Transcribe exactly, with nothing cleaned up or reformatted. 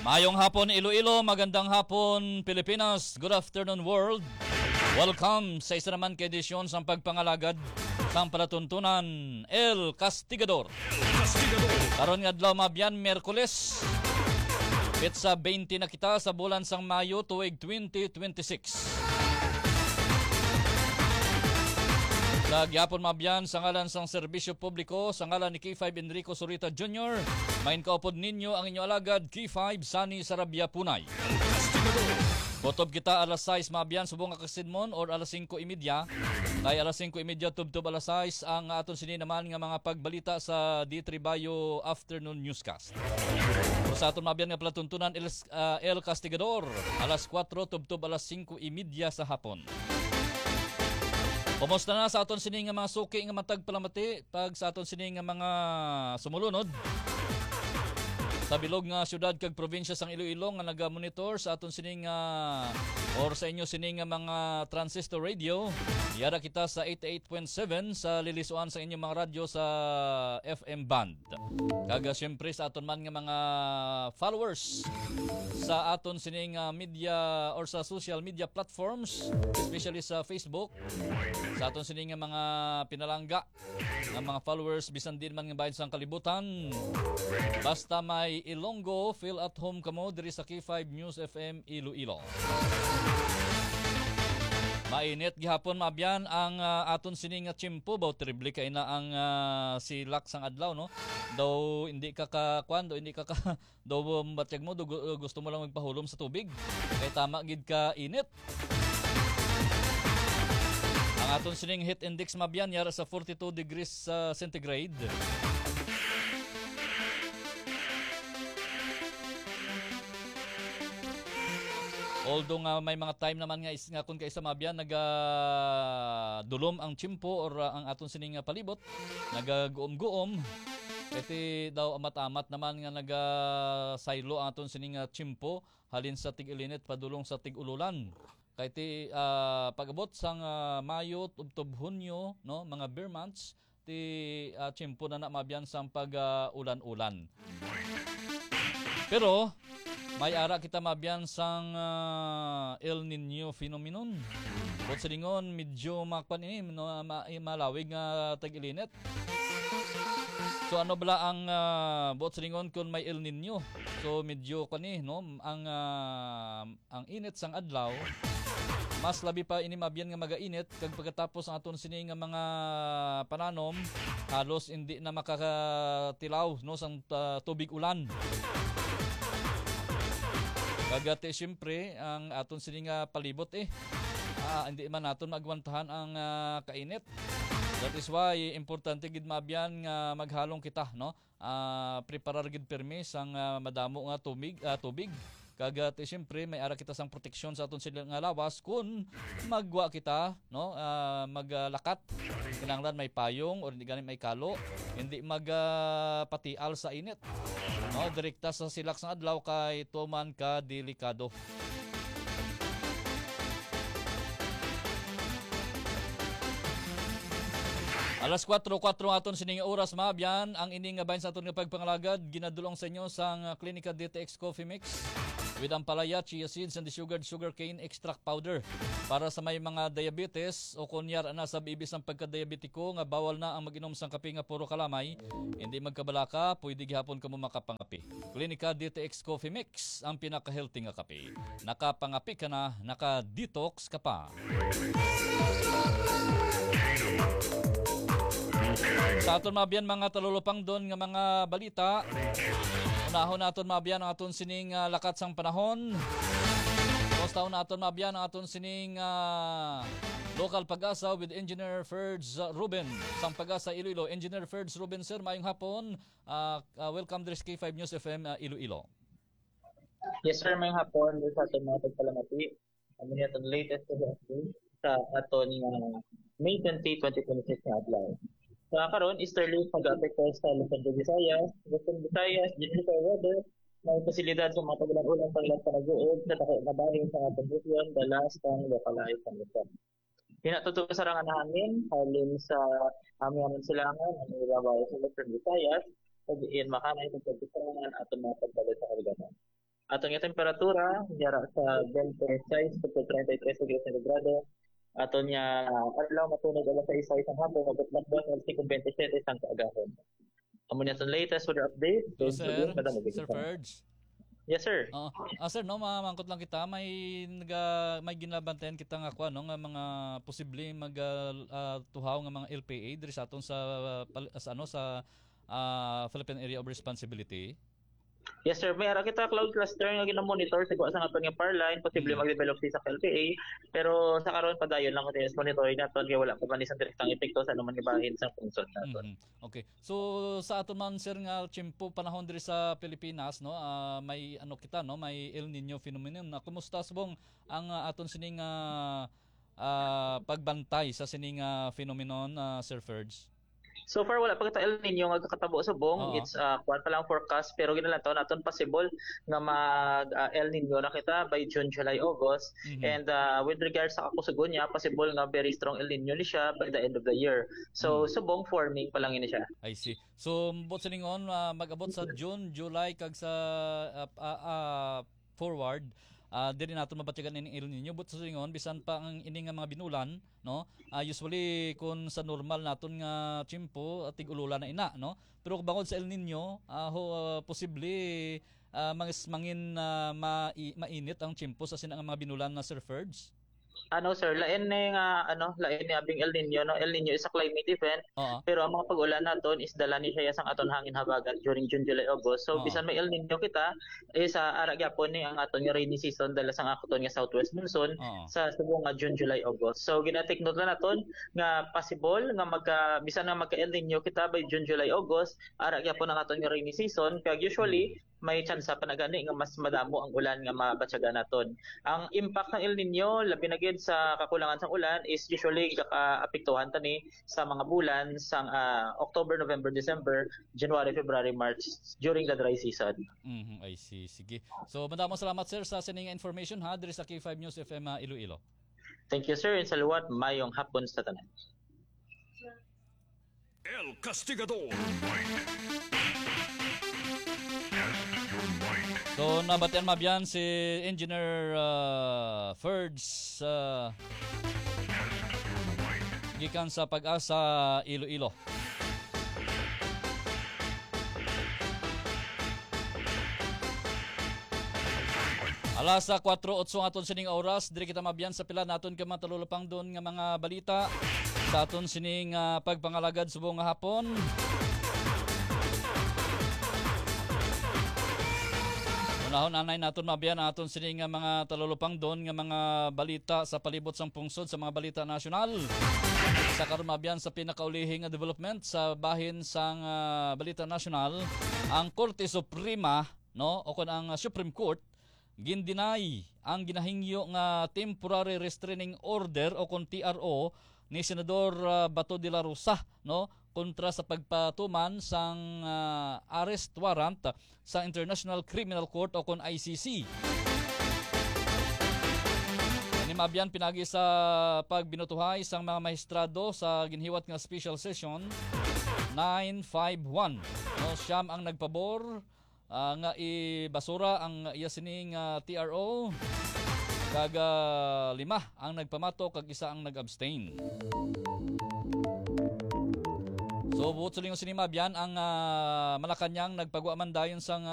Maayong hapon, Iloilo. Magandang hapon, Pilipinas. Good afternoon, world. Welcome sa isa naman ka edisyon sang pagpangalagad sang palatuntunan, El Castigador. Karon nga adlaw, mga abyan, Miyerkules. Petsa twenty na kita sa bulan sang Mayo, tuig twenty twenty-six. Sa gihapon, mga abyan, sa ngalan sang serbisyo publiko, sa ngalan ni K five Enrico Zurita Junior, main kaupod ninyo ang inyo alagad, K five Sunny Sarabia Punay. Kutob kita alas sais, mga abyan, subong nga kasidmon, or alas singko y media. Kay alas singko y media tubtob alas sais ang aton sini naman nga mga pagbalita sa D three Bayo Afternoon Newscast. Sa aton, mga abyan, nga palatuntunan, El, ah, El Castigador, alas kuwatro tubtob alas singko y media sa hapon. Kumusta na sa aton sini nga mga suki nga matag palamati pag sa aton sini nga mga sumulunod sa bilog nga syudad kag probinsya sang Iloilo nga naga-monitor sa aton sini nga or sa inyo sini nga mga transistor radio? Yara kita sa eighty-eight point seven sa lilisuan sa inyong mga radyo sa F M band. Kag, ah, siyempre sa aton man nga mga followers sa aton sining, ah, media or sa social media platforms, especially sa Facebook, sa aton sining nga mga pinalangga nga mga followers, bisan din man nga bahin sang kalibutan. Basta may Ilonggo, feel at home kamo diri sa K five News F M Iloilo. Mainit gihapon, mga abyan, ang, ah, aton sini nga tiyempo. Baw, terrible kay na ang, ah, silak sang adlaw, no? Daw hindi ka ka, kwan, daw hindi ka ka, daw, um, batyag mo, daw gu-, gusto mo lang magpahulom sa tubig. Kay tama gid ka init. Ang aton sining heat index, mga abyan, yara sa forty-two degrees, ah, centigrade. Although nga may mga time naman nga is-, nga kung kaisa, mga abyan, nagadulom ang tiyempo or, ah, ang aton sining, ah, palibot, nagaguom-guom. Kay ti daw amat-amat naman nga nagasaylo ang aton sining, ah, tiyempo halin sa tig-ilinit padulong sa tig-ululan. Kay ti, ah, pag-abot sang, ah, Mayo tubtob Hunyo, no, mga ber months, ti, ah, tiyempo na na, mga abyan, sang pag, ah, ulan-ulan. Pero may ara kita, mga abyan, sang, ah, El Niño phenomenon. Buot silingon, medyo makwan ini, no, ma-, eh, malawig nga tag-ilinit. So, ano bala ang, ah, buot silingon kung may El Niño? So, medyo kwan ni, no, ang, ah, ang init sang adlaw, mas labi pa ini, mga abyan, nga magainit, kag pagkatapos ang aton sini nga mga pananom, halos hindi na makakatilaw, no, sang, ah, tubig ulan. Kag, ah, ti, siyempre, ang aton sini nga palibot, eh, ah, hindi man naton maagwantahan ang, ah, kainit. That is why importante gid, mga abyan, nga maghalong kita, no? Ah, preparar gid pirmi sang, ah, madamo nga tumig-, ah, tubig. Kag, ah, ti, siyempre, may ara kita sang proteksyon sa aton sila nga lawas kun magwa kita, no? Ah, maglakat. Kinahanglan may payong or hindi gani may kalo. Hindi mag, ah, patial sa init. No, direkta sa silak sang adlaw kay tuman ka delikado. Alas kuwatro, kuwatro aton sining oras, mga abyan. Ang ini nga bahin sa aton nga pagpangalagad, ginadulong sa inyo sang, ah, Klinika D T X Coffee Mix with ampalaya, chia seeds, and the sugared sugarcane extract powder. Para sa may mga diabetes o kon yara na sa bibis ang pagka-diabetiko nga bawal na ang mag-inom sang kape nga puro kalamay, hindi magkabalaka, pwede gihapon kamo makapangape. Klinika D T X Coffee Mix, ang pinaka-healthy nga kape. Nakapangape ka na, naka-detox ka pa. Sa aton, mga abyan, mga talulupangdon nga mga balita, unahon naton, mga abyan, ang aton sining, ah, lakat sang panahon. Kumusta naton, mga abyan, ang aton sining, ah, Local Pag-asa with Engineer Ferds, ah, Ruben sang Pag-asa Iloilo. Engineer Ferds Ruben, sir, maayong hapon. Ah, ah, welcome diri sa K five News F M, ah, Iloilo. Yes, sir, maayong hapon diri sa aton mga tagpalamati. Amo ni aton latest nga update sa aton nga May twenty, twenty twenty-six nga adlaw. Sa karon, easterly pag-apekto sa Luzon, Visayas, Western Visayas, General Weather, may posibilidad sa mga pag-ulan-ulan, paglat panag-uod sa dako nga bahin sa aton rehiyon, dalas kang localized thunderstorm. Hinatutukan sa nga hangin, halin sa Amianan, Silangan, ang ibabaw sa Western Visayas, ug in makanay sa pagkusangan aton mga pagdali sa Cariganan. Aton nga temperatura, yara sa twenty-six to thirty-three degrees centígrado. Aton nga adlaw, matunog alas sais sa hapon, abot lang buwan alas singko bentisiete sang kaagahon. Amo ni aton latest weather update. Hello, Thank you, sir. Madam. Sir Ferds. Yes, sir. Oo. Ah, sir, no, mamangkot lang kita. May naga, may ginabantayan kita nga kuan, no, nga mga posible mag, ah, ah, tuhaw nga mga L P A diri sa aton sa, ah, pal-, sa, ano, sa, ah, Philippine Area of Responsibility. Yes, sir. May ara kita cloud cluster nga ginamonitor sa kuha sa aton nga PAR line, posible Mm. mag-develop siya sa L P A, pero sa karon padayon lang continuous monitoring naton kay wala pa man isang direktang epekto sa anuman nga bahin sa pungsod naton. Mhm. Okay. So sa aton man, sir, nga tiyempo panahon diri sa Pilipinas, no, ah, may ano kita, no, may El Nino phenomenon. Na kumusta subong ang, ah, aton sining, ah, ah, pagbantay sa sining, ah, phenomenon, ah, Sir Ferds? So far, wala pa kita El Nino nga kakatabo subong. Oo. It's, ah, kuwan pa lang forecast, pero ginalantaw naton possible nga mag, ah, El Nino na kita by June, July, August. Mhm. And, ah, with regards sa kakusugon niya, possible nga very strong El Nino ni siya by the end of the year. So, Mhm. subong forming pa lang ini siya. I see. So, buot silingon, ah, mag-abot sa June, July, kag sa, ah, ah, ah, forward, ah, diri naton mabatyagan ini El Nino. Buot silingon, bisan pa ang ini nga mga binulan, no? Ah, usually, kung sa normal naton nga tiyempo, ah, tig-ulola na ina, no? Pero bangod sa El Nino, ah, ho, ah, posible, ah, mas mangin, ah, mai-, mainit ang tiyempo sa sina nga mga binulan na, Sir Ferds? Ano, sir, lain ni nga, ano, lain ni abing El Nino, no? El Nino is a climate event, Oo. pero ang mga pag-ulan naton is dala ni siya sang aton hangin habagat during June, July, August. So, Oo. bisan may El Nino kita, is, ah, ara gyapon ni ang aton nga rainy season dala sang aton nga southwest monsoon Oo. sa subong nga June, July, August. So, gina-take note na naton nga possible nga magka, bisan nga magka El Nino kita by June, July, August, ara gyapon ang aton nga rainy season. Kag usually, Mm. may tsansa pa na gani nga mas madamo ang ulan nga mabatyagan naton. Ang impact ng El Nino, labi na gid sa kakulangan sang ulan, is usually gaka-apektuhan ta ni sa mga bulan sang, ah, October, November, December, January, February, March, during the dry season. Mhm, I see. Sige. So, madamo salamat, sir, sa sining information, ha, diri sa K five News F M, ah, Iloilo. Thank you, sir, and salawat. Mayong hapon sa tanan. El Castigador. So, nabatian, mabyan, si Engineer, ah, Ferds, ah, gikan sa Pag-asa, Iloilo. Alas sa kuwatro otso ang aton sining oras, diri kita mabyan sa pila naton ka mga talulupangdon nga mga balita sa aton sining, ah, pagpangalagad subong nga hapon. Unahon anay naton mabyan ang aton sining nga mga talulupangdon nga mga balita sa palibot sang pungsod sa mga balita nasyonal. Sa karon mabyan sa pinakaulihi nga development sa bahin sang, ah, balita nasyonal, ang Korte Suprema, no, o kon ang, ah, Supreme Court, gin-deny ang ginahingyo nga temporary restraining order o kon T R O ni Senador, ah, Bato de la Rosa, no, kontra sa pagpatuman sang, ah, arrest warrant sa International Criminal Court o kon I C C. Ini mabyan pinagi sa pagbinutuhay sang mga mahistrado sa ginhiwat nga special session nine five one. No, siyam ang nagpabor, ah, nga ibasura ang iya sining, ah, T R O, kag, ah, lima ang nagpamato kag isa ang nag-abstain. So, buot sa lingon sini, mabyan ang, ah, Malacañang nagpagwa man dayon sang, ah,